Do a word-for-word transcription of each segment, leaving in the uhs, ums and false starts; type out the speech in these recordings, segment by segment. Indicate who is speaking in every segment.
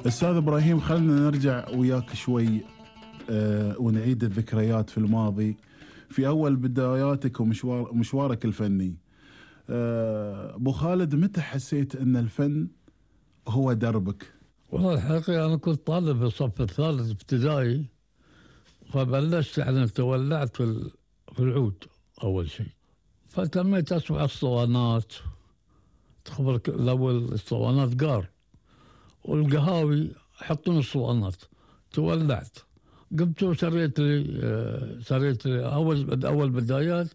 Speaker 1: أستاذ إبراهيم، خلنا نرجع وياك شوي أه ونعيد الذكريات في الماضي في أول بداياتك ومشوار مشوارك الفني. أه أبو خالد، متى حسيت أن الفن هو دربك؟
Speaker 2: والله الحقيقة أنا كنت طالب في الصف الثالث ابتدائي، فبلشت يعني تولعت في في العود أول شيء، فتميت أسمع الصوانات، تخبرك الأول الصوانات قار والقهاوي يحطون الصوانات، تولعت قمت وشريت لي شريت لي أول أول بدايات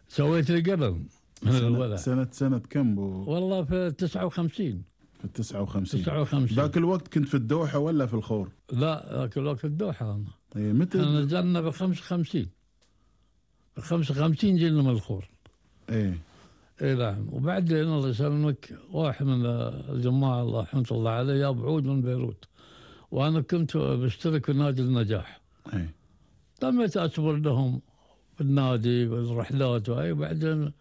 Speaker 2: سويت لي قلم من
Speaker 1: سنة
Speaker 2: الولد.
Speaker 1: سنة سنة كم بو؟
Speaker 2: والله في تسعة وخمسين.
Speaker 1: في التسعة وخمسين.
Speaker 2: تسعة وخمسين.
Speaker 1: ذاك الوقت كنت في الدوحة ولا في الخور؟
Speaker 2: لا ذاك الوقت في الدوحة أنا.
Speaker 1: إيه متى؟
Speaker 2: احنا نزلنا بخمسة وخمسين. بخمسة وخمسين جينا من الخور.
Speaker 1: إيه.
Speaker 2: إيه نعم، وبعدين الله يسلمك واحد من الجماعة الله رحمة الله عليه جاب عود من بيروت، وأنا كنت بشترك في نادي النجاح.
Speaker 1: إيه.
Speaker 2: تميت أصبر لهم في النادي بالرحلات وهي. وبعدين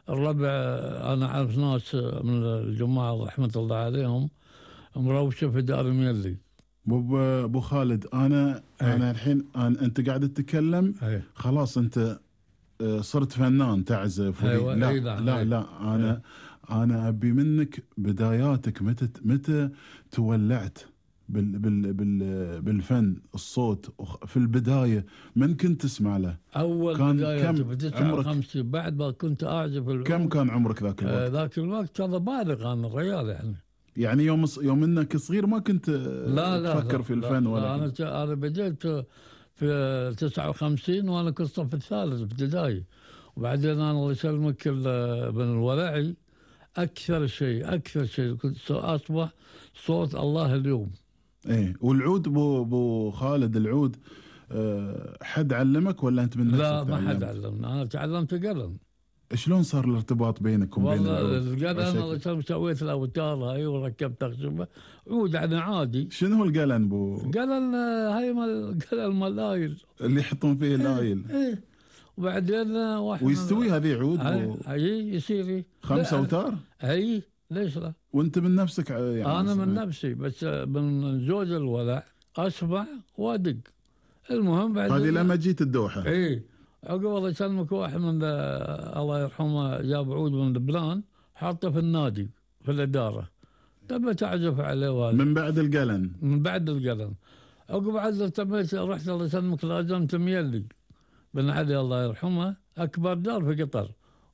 Speaker 2: الربع أنا أعرف ناس من الجماعة رحمة الله عليهم مروشة في دار ميلي.
Speaker 1: ابو ابو خالد، انا
Speaker 2: أي.
Speaker 1: انا الحين أنا انت قاعد تتكلم
Speaker 2: أي.
Speaker 1: خلاص انت صرت فنان تعزف.
Speaker 2: أيوة.
Speaker 1: لا
Speaker 2: أي.
Speaker 1: لا لا,
Speaker 2: أي.
Speaker 1: لا انا أي. انا ابي منك بداياتك، متى متى تولعت بال بال بال بالفن الصوت في البدايه، من كنت تسمع له؟
Speaker 2: أول
Speaker 1: كان
Speaker 2: بداية
Speaker 1: كم
Speaker 2: في تسعة وخمسين بعد ما كنت أعزف العود.
Speaker 1: كم كان عمرك ذاك الوقت؟
Speaker 2: آه ذاك الوقت كان بالغ أنا الرجال يعني.
Speaker 1: يعني يوم يوم انك صغير ما كنت
Speaker 2: لا لا
Speaker 1: تفكر
Speaker 2: لا
Speaker 1: في الفن
Speaker 2: لا
Speaker 1: ولا
Speaker 2: لا أنا أنا بديت في تسعة وخمسين وأنا كنت صف الثالث ابتدائي. وبعدين أنا الله يسلمك بن الولعي أكثر شيء أكثر شيء كنت أصبح صوت الله اليوم.
Speaker 1: إيه. والعود بو بو خالد، العود أه حد علمك ولا أنت من نفسك؟
Speaker 2: لا ما
Speaker 1: تعلمت؟
Speaker 2: حد علمني، أنا تعلمت قلم.
Speaker 1: شلون صار الارتباط بينكم وبين العود؟
Speaker 2: والله القلم الله يسلمك سويت الأوتار هاي وركبت أخشبة عود يعني عادي.
Speaker 1: شنو هو القلم بو؟
Speaker 2: قلم هاي مال قلم الايل
Speaker 1: اللي يحطون فيه الايل.
Speaker 2: ايه, ايه. وبعدين واحد
Speaker 1: ويستوي هذه عود
Speaker 2: بو اي يصير
Speaker 1: خمسة اوتار؟
Speaker 2: اي ليش لا؟
Speaker 1: وانت من نفسك يعني؟
Speaker 2: انا من نفسي، بس من زوج الولع اسمع وادق. المهم بعد
Speaker 1: هذه لما جيت الدوحه.
Speaker 2: اي عقب الله يسلمك واحد من الله يرحمه جاب عود من لبنان حاطه في النادي في الاداره، تم تعزف عليه والد.
Speaker 1: من بعد القلم؟
Speaker 2: من بعد القلم. عقب عزل تميت رحت الله يسلمك لازمت ميلي بن علي الله يرحمه، اكبر دار في قطر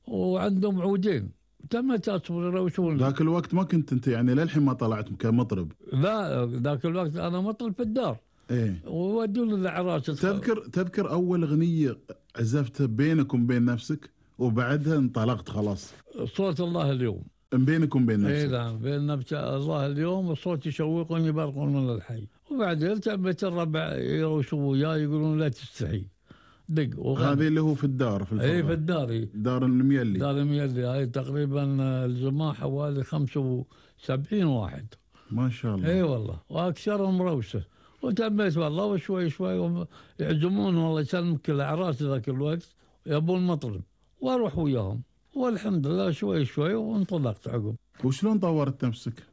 Speaker 2: وعندهم عودين، تميت اصبر يروشون.
Speaker 1: ذاك الوقت ما كنت انت يعني للحين ما طلعت كمطرب؟
Speaker 2: لا ذاك الوقت انا مطرب في الدار.
Speaker 1: ايه.
Speaker 2: وودون الاعراس.
Speaker 1: تذكر تذكر اول اغنيه عزفتها بينك وبين نفسك وبعدها انطلقت خلاص؟
Speaker 2: صوت الله اليوم.
Speaker 1: بينك وبين نفسك؟
Speaker 2: اي نعم، بين نفس الله اليوم وصوت يشوقني برق من الحي. وبعدين تميت الربع يروشوا وياي يقولون لا تستحي دق.
Speaker 1: هذه اللي هو في الدار في الفرقة.
Speaker 2: اي في الدار.
Speaker 1: دار الميلي.
Speaker 2: دار الميلي هاي تقريبا الجماعة حوالي خمسة وسبعين واحد.
Speaker 1: ما شاء الله.
Speaker 2: اي والله، واكثرهم روسه. وتميت والله وشوي شوي يعزمون والله يسلمك الاعراس ذاك الوقت يبون مطرب واروح وياهم، والحمد لله شوي شوي وانطلقت عقب.
Speaker 1: وشلون طورت نفسك؟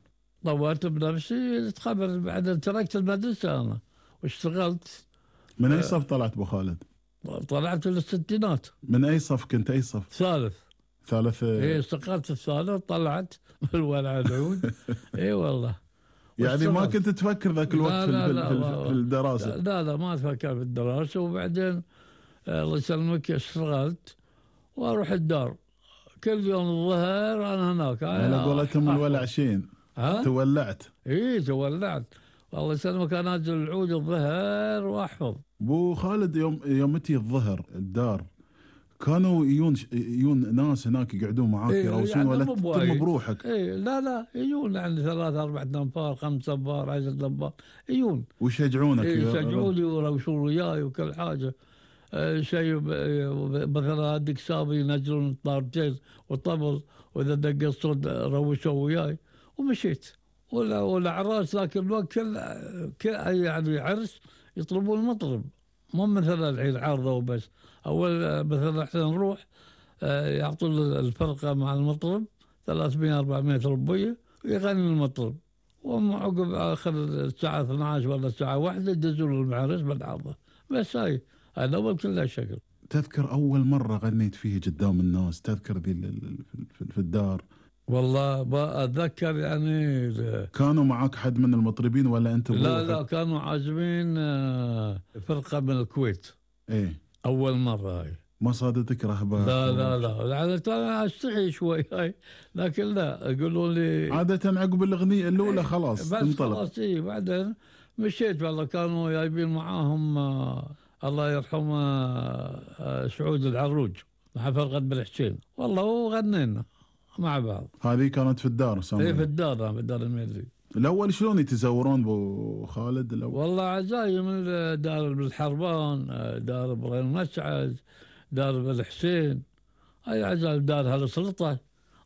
Speaker 2: طورت بنفسي، تخبر بعد تركت المدرسة أنا واشتغلت.
Speaker 1: من أي صف طلعت أبو خالد؟
Speaker 2: طلعت للستينات.
Speaker 1: من أي صف كنت؟ أي صف؟
Speaker 2: ثالث.
Speaker 1: ثالث.
Speaker 2: إيه استقلت الثالث طلعت بالولع العود. إيه والله.
Speaker 1: يعني ما كنت تفكر ذاك الوقت لا لا في, لا في, في الدراسة؟
Speaker 2: لا لا ما تفكر في الدراسة. وبعدين الله يسلمك اشتغلت وأروح الدار كل يوم الظهر أنا هناك.
Speaker 1: على قولتهم الولع شين.
Speaker 2: ها؟
Speaker 1: تولعت؟
Speaker 2: إيه تولعت والله يسلمك. أنا أنزل العود الظهر وأحفظ.
Speaker 1: أبو خالد يوم يوم تي الظهر الدار كانوا يجون يجون ناس هناك يقعدون معاك
Speaker 2: إيه
Speaker 1: يروسون
Speaker 2: يعني
Speaker 1: ولا تتم بروحك؟
Speaker 2: إيه لا لا يجون عندي ثلاثة أربعة أنفار خمسة أنفار عشرة أنفار يجون
Speaker 1: ويشجعونك.
Speaker 2: إيه يشجعوني ويروسون وياي وكل حاجة. آه شيء مثلا هذيك سابي ينزلون طارتين وطبل، وإذا دق الصوت روشوا وياي ومشيت. ولا والأعراس ذاك الوقت كل كل يعني عرس يطلبون مطرب، مو مثلا الحين عارضة وبس. أول مثلا احنا نروح يعطون الفرقة مع المطرب ثلاثمئة أربعمئة ربية ويغني المطرب وعقب آخر الساعة اثني عشر ولا الساعة واحدة يدزون المعرس بالعرضة. بس هاي هذا أول كلها شكل.
Speaker 1: تذكر أول مرة غنيت فيه قدام الناس؟ تذكر ذي في الدار؟
Speaker 2: والله بأتذكر يعني.
Speaker 1: كانوا معك حد من المطربين ولا أنت بروحك؟
Speaker 2: لا لا كانوا عازمين فرقة من الكويت.
Speaker 1: إيه
Speaker 2: أول مرة هاي.
Speaker 1: ما صادتك رهبة؟
Speaker 2: لا لا لا يعني أنا أستحي شوي هاي، لكن لا يقولوا لي
Speaker 1: عادة عقب الأغنية الأولى خلاص تنطلق.
Speaker 2: خلاص إيه بعدين مشيت. والله كانوا جايبين معاهم آه الله يرحمه آه سعود العروج مع فرقة بالحسين، والله وغنينا مع بعض.
Speaker 1: هذه كانت في الدار سامي؟
Speaker 2: ايه في الدار، في الدار الميري.
Speaker 1: الأول شلون يتزورون بو خالد الأول؟
Speaker 2: والله عزايم دار بالحربان، دار ابراهيم مسعد، دار بالحسين، هاي عزايم دار هالسلطة،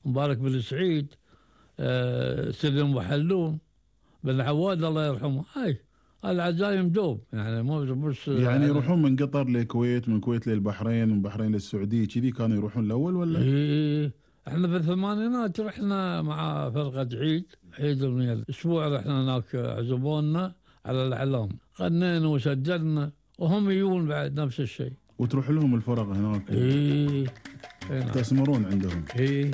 Speaker 2: مبارك بالسعيد، آه سلم وحلوم بن عواد الله يرحمه. هاي العزايم دوب يعني مو مش
Speaker 1: يعني يروحون من قطر للكويت، من الكويت للبحرين، من البحرين للسعودية، كذي كانوا يروحون الأول ولا؟
Speaker 2: ايه احنا في الثمانينات رحنا مع فرقة عيد عيد الميل، اسبوع رحنا هناك عزمونا على الاعلام، غنينا وسجلنا وهم يجون بعد نفس الشيء.
Speaker 1: وتروح لهم الفرق هناك؟
Speaker 2: ايه
Speaker 1: تسمرون عندهم؟
Speaker 2: ايه